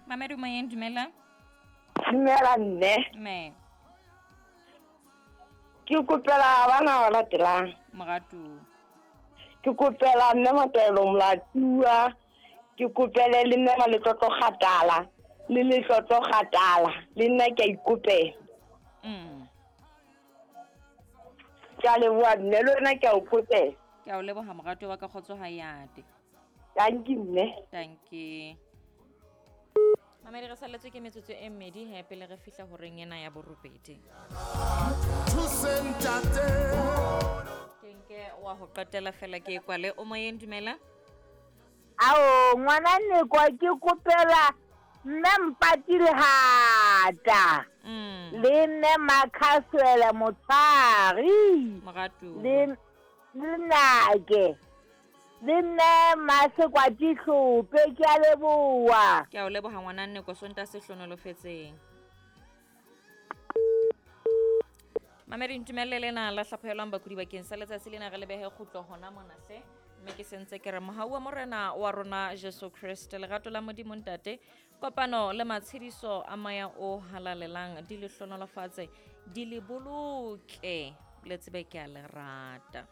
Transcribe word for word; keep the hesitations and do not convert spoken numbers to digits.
Mamedi moyeng, dumela. Dumela mme. Me. Ke kopela bana ba latelang. Moratu. Ke kopela mme Mataelo Molatua, ke kopele le mme Maletlotlo Kgatala, le Letlotlo Kgatala, le nna ke a ikopela. Mm. Ke a leboha mme, le wena ke a o kopela. Ke a o leboha moratuwa wa ka, kgotso ha yate. Tanki mme. Tanki. Mamedi, re salletswe ke metsotso e mmedi he pele re fihla horeng ena ya borobedi. Ke nke wa ho qetela fela ke e kwale. O moyeng, dumela. Ao, ngwana Nekwa, ke kopela mme Mpati Lehata. Mm. Le mme Makhaswele Motshwari. Moratu. Le le Nake. Le nne Masekwati Hlope, ke a leboha. Ke a o leboha ngwana Nneko, Sontaha se hlonolofetseng. Mamedi, ntumelle lena la hlaphohelwang bakudi bakeng sa letsatsi lena, re lebehe kgutlo hona mona hle. Mme ke sentse ke re mohau wa Morena wa rona Jesu Kreste, lerato la Modimo Ntate, kopano le matshediso a moya o halalelang di le hlonolofatse, di le boloke, le tsebe ke a le rata.